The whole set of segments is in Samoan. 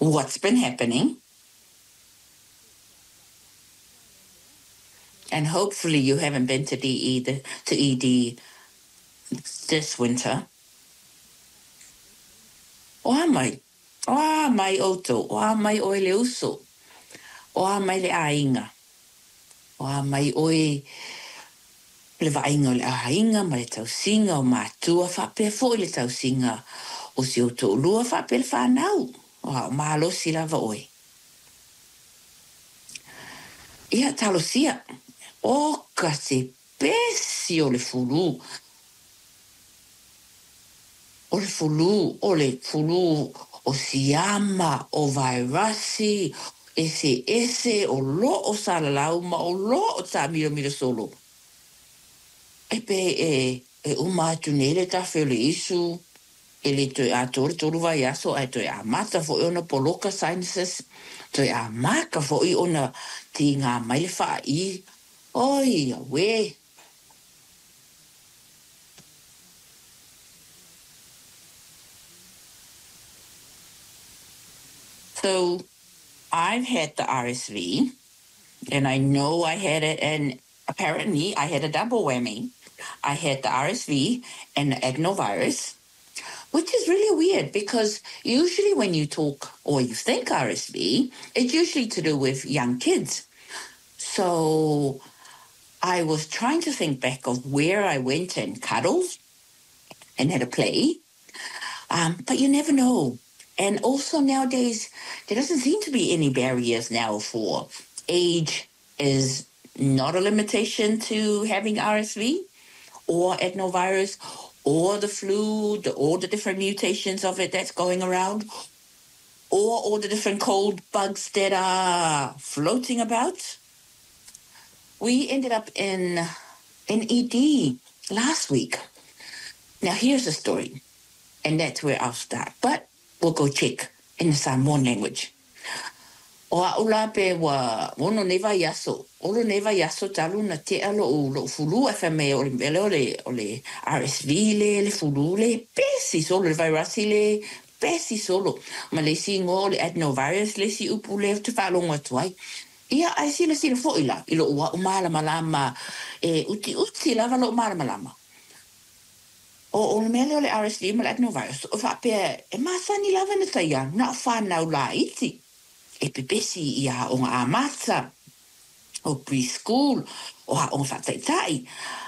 What's been happening? And hopefully you haven't been to DE the, to ED this winter. O a mai? O a mai outou? O a mai oe le uso? O a mai le aiga? O a mai oe le vaaiga o le aiga ma le tausiga o matua faapea foi le tausiga o si ou toalua faapea le fanau? O a o malosi lava oe? Ia talosia, oka se pesi o le fulu. O le fulu, o le fulu o siama, o vairasi, eseese o lo o salalau ma o lo o taamilomilo solo. E pei e uma atu nei le tafe o le isu, e le toe atoa le 3 vaiaso ae toe amata foi ona poloka sinuses, toe amata foi ona tiga mai le faai. Oi, auē! So I've had the RSV, and I know I had it, and apparently I had a double whammy. I had the RSV and the adenovirus, which is really weird because usually when you talk or you think RSV, it's usually to do with young kids. So I was trying to think back of where I went and cuddled and had a play. But you never know. And also nowadays, there doesn't seem to be any barriers now for age is not a limitation to having RSV or adenovirus or the flu, all the different mutations of it that's going around, or all the different cold bugs that are floating about. We ended up in ED last week. Now here's the story, and that's where I'll start. But we'll go check in the Samoan language. O a'u la pe ua ono nei vaiaso, olo nei vaiaso talu na tea lo'u fulu ae fai mai o le mea lea o le RSV le le fulu le pesi solo le vairasi le pesi solo ma le isi igoa o le adenovirus le isi upu lea ou te faalogo atu ai. Ia ae silasila foi la i lo'u a'u malamalama e utiuti lava lo'u malamalama. O le mea lea o le RSV ma le adenovirus, o faapea e masani lava na taia na o fanau laiti e pepesi i aoga amata, o preschool, o aoga faataitai.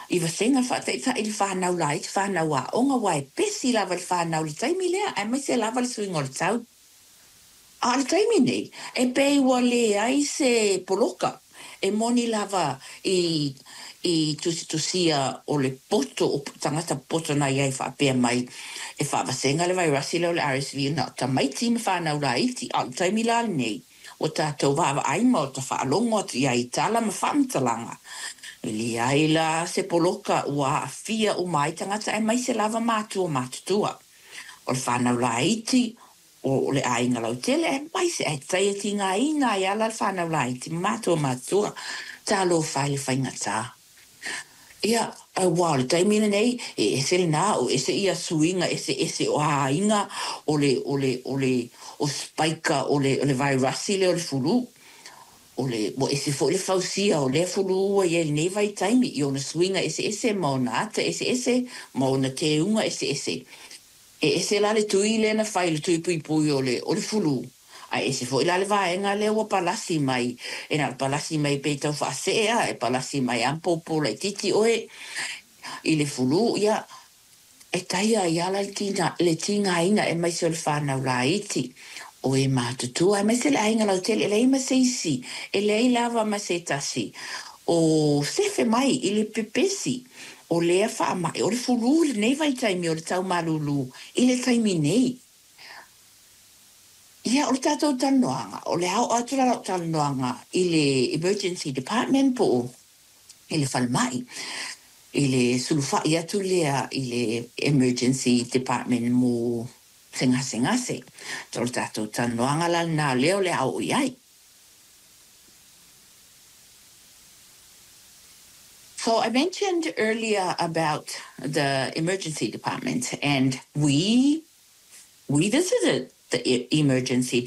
I vasega faataitai le fanau laiti, fanau aoga, aua e pesi lava le fanau i le taimi lea, aemaise lava le suiga o le tau. A o le taimi nei, e pei ua leai se poloka e moni lava i i tusitusia o le poto o tagata poto na i ai faapea mai e faavasega le vairasi lea o le RSV na o tamaiti ma fanau laiti. A o le taimi la lenei, ua tatou vaavaai ma ua faalogo atu i ai i tala ma faamatalaga, e leai la se poloka ua aafia uma ai tagata aemaise lava matua matutua. O le fanau laiti, o le aiga lautele, aemaise ae taia tigaina ai ala le fanau laiti ma matua matutua. Talofa e le faigata. Ia, aua o le taimi lenei, e ese lena, o ese ia suiga eseese o aiga o le, o le, o le, o spaika o le, o le vairasi lea o le fulu. O le, ua ese foi le fausia o lea fulu ua i ai i lenei vaitaimi i ona suiga eseese ma ona ata eseese ma ona teuga eseese. E ese la le tui lea na fai, le tui puipui o le, o le fulu, ae ese foi la le vaega lea ua palasi mai, e na o le palasi mai pei tau faasee a, e palasi mai lava ma popo laitiiti oe i le fulu, ia, e taia ai lava la le tiga, le tigaina aemaise o le fanau laiti, o e matutua, aemaise le aiga lautele, e leai ma se isi, e leai lava ma se tasi o sefe mai i le pepesi o lea faamai o le fulu i lenei vaitaimi o le tau malūlū i le taimi nei. Ia, o le tatou talanoaga, o le a oo atu la lau talanoaga i le emergency department po o i le falemai, i le sulufai atu lea i le emergency department mo se gasegase. O le tatou talanoaga la lena lea o le a oo i ai. So I mentioned earlier about the emergency department, and we visited the emergency